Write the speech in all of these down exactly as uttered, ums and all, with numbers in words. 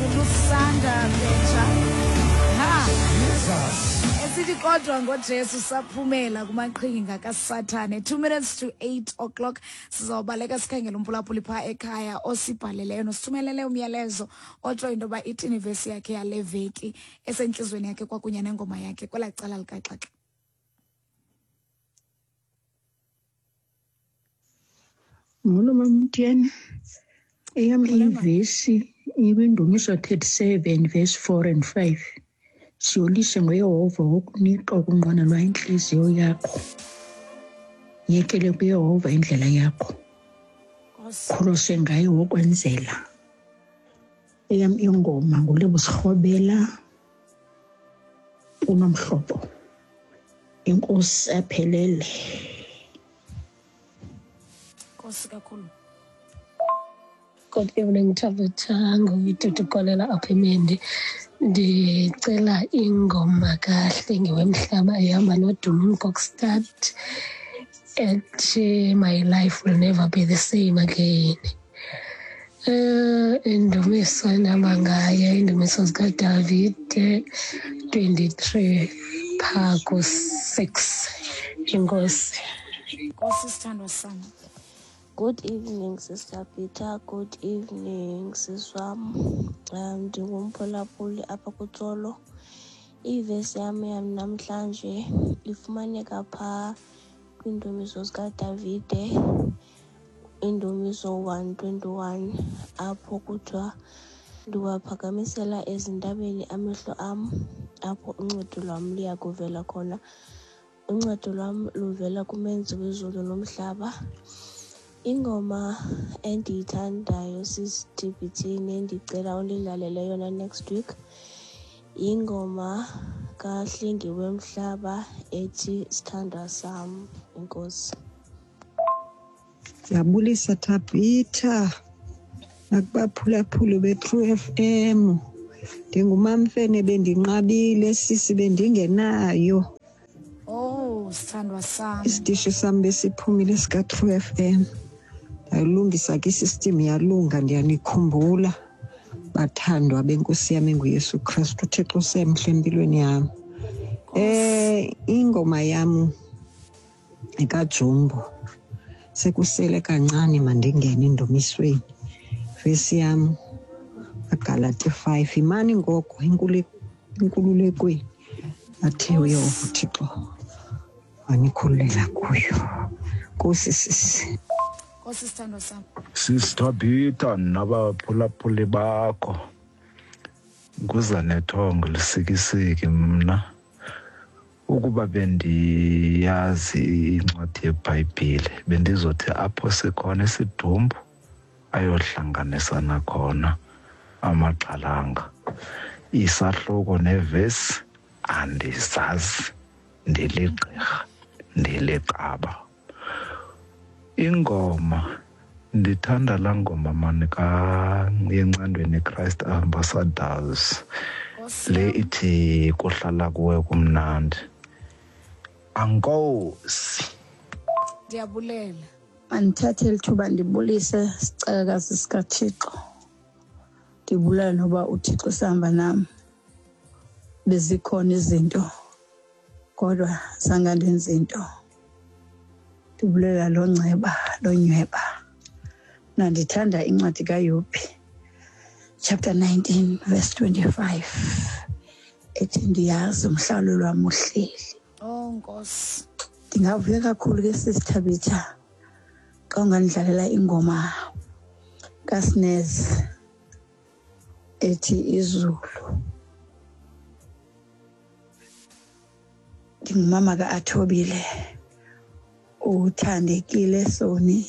NguLusanda Betsha. Ha. Esithi kodwa ngoJesu saphumela kumaqhinga kaSathane. Two minutes to eight o'clock. Sizawubaleka sikhangela umphulaphuli phaa ekhaya osibhaleleyo nosithumelele umyalezo otsho into yoba ithini ivesi yakhe yale veki esentliziyweni yakhe kwakunye nengoma yakhe kwelaa cala likaxaxa. Molo Mamtiyeni. Eyam ivesi ikwiNdumiso thirty-seven verse four and five. Siyolise ngoYehova wokunika ukunqwenelwa intliziyo yakho. Yekele kuYehova indlela yakho. Kholose ngaye wokwenzela. Eyam ingoma nguLebo Sirhobela uNomhlobo. Inkosi aphelele. Nkosi kakhulu. Good evening, Tabitha. Nguyidudukolela apha eMendi. Ndicela ingoma kaHlengiwemhlaba ehamba noDumi Mkokstad ethi My Life Will Never Be the Same Again. Uh, indumiso endihamba ngayo, indumiso zikaDavide twenty-three phaa ku-six. Inkosi. Nkosi sithandwa sam. Good evening, Sister Peter. Good evening, sis wam. Um, ndingumphulaphuli apha kuTsolo. Ivesi yam yam namhlanje ifumaneka phaa kwiindumiso zikaDavide, indumiso one twenty-one, apho kuthiwa ndiwaphakamisela ezintabeni amehlo am, apho uncedo lwam luya kuvela khona. Uncedo lwam luvela kumenzi wezulu nomhlaba. Ingoma endiyithandayo sis T B T nendicela undidlalele yona next week yingoma kaHlengiwemhlaba ethi Sithandwa Sam. Enkosi. Ndiyabulisa Thabitha nakubaphulaphuli be-True F M. Ndingumamfene, bendinqabile sisi, bendingenayo. Oh, sithandwa sam. Isitishi sam besiphumile sika-True F M. Ndayilungisa ke isystem yalunga, ndiyanikhumbula bathandwa benkosi yam enguYesu Kristu. uThixo usemhle empilweni yam. Eh ingoma yam ekaJumbo sekusele kancane mandingene endumisweni. Vesi yam Galati five, imani ngoko inkululekweni athe uYehova uThixo wanikhululela kuyo. Nkosi sisi. Nkosi sithandwa sam. Sis Thabitha nabaphulaphuli bakho, nguza nethongo lisikisiki mna. Ukuba bendiyazi incwadi yeBhayibhile bendizothi apho sikhona isidumbu ayohlanganisana khona amaxhalanga. Isahluko nevesi andizazi, ndiligqirha, ndiliqaba. Ingoma ndithanda laa ngoma mani ka yencandweni Christ Ambassadors le ithi kuhlala kuwe kumnandi. Ankosi. Ndiyabulela. Mandithathe eli thuba ndibulise sicakakazi sikaThixo. Ndibulela noba uThixo sihamba nam. Bezikhona izinto kodwa zange ndenze into. Ndibulela lo nceba lo nyweba. Mna ndithanda incwadi kaYobhi chapter nineteen verse twenty-five ethi ndiyazi umhlawulelo wam uhleli. Oh Nkosi. Ndingavuya kakhulu ke sisi Thabitha xa ungandidlalela ingoma kaSnez ethi izulu. Ndingumama ka-Athobile uthandekile Soni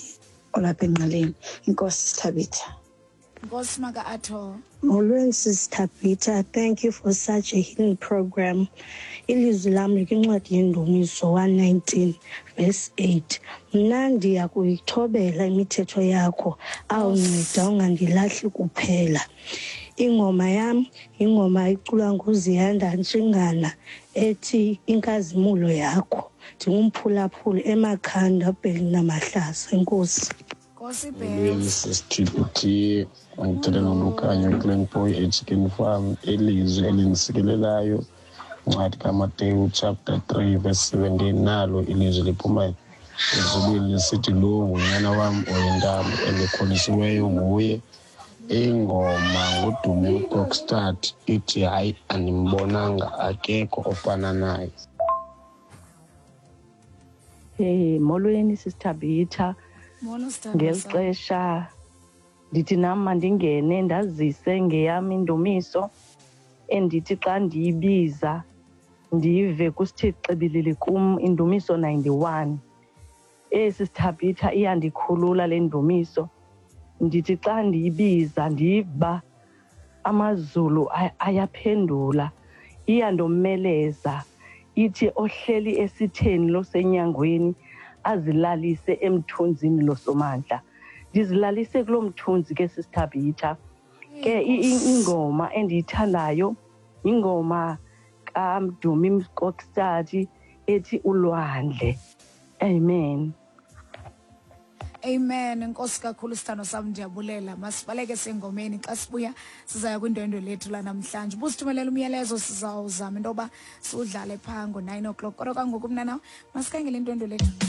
olapha engqaleni. Inkosi Thabitha. Nkosi maka-Atho. Molweni sisi Thabitha, thank you for such a healing program. Ilizwi lam likwincwadi yeNdumiso one nineteen verse eight. Mna ndiya kuyithobela imithetho yakho, awunceda ungandilahli kuphela. Ingoma yam ingoma iculwa nguZiyanda Ntshingana ethi inkazimulo yakho. Ndingumphulaphuli eMakhanda Bheli namahlazo. Enkosi. Nkosi Molweni Bhele. sisi-T B T, ngithetha noLukhanyo Glenboy eChicken Farm. Ilizwi elindisikelelayo, incwadi kaMateyu chapter three verse seventeen. Nalo ilizwi liphuma ezulwini lisithi, lo ngunyana wam oyintamo endikholisiweyo nguye. Ingoma nguDumi Mkokstad, ithi hayi andimbonanga, akekho ofana naye. Hey, molweni sisithabitha. Molo sithandwa Ngeli sam. xesha ndithi nam mandingene ndazise ngeyam indumiso endithi xa ndiyibiza ndive kusithi xibilili kum, indumiso ninety-one. Esi sithabitha iyandikhulula le ndumiso. Ndithi xa ndiyibiza ndiva amazulu ay- ayaphendula, iyandomeleza. Ithi ohleli esitheni losenyangweni azilalise emthunzini losomandla. Ndizilalise kuloo mthunzi ke sisithabitha ke. i- i- ingoma endiyithandayo ingoma kaMdumi Mkokstad ethi Ulwandle. Amen. Amen. Enkosi kakhulu sithando sam, ndiyabulela. Masibaleke sengomeni, xa sibuya sizaya kwindwendwe lethu lanamhlanje. Ubusithumelela umyalezo, sizawuzama into yoba siwudlale phaa ngo-nine o'clock, kodwa kangoku mna nawe masikhangele indwendwe lethu.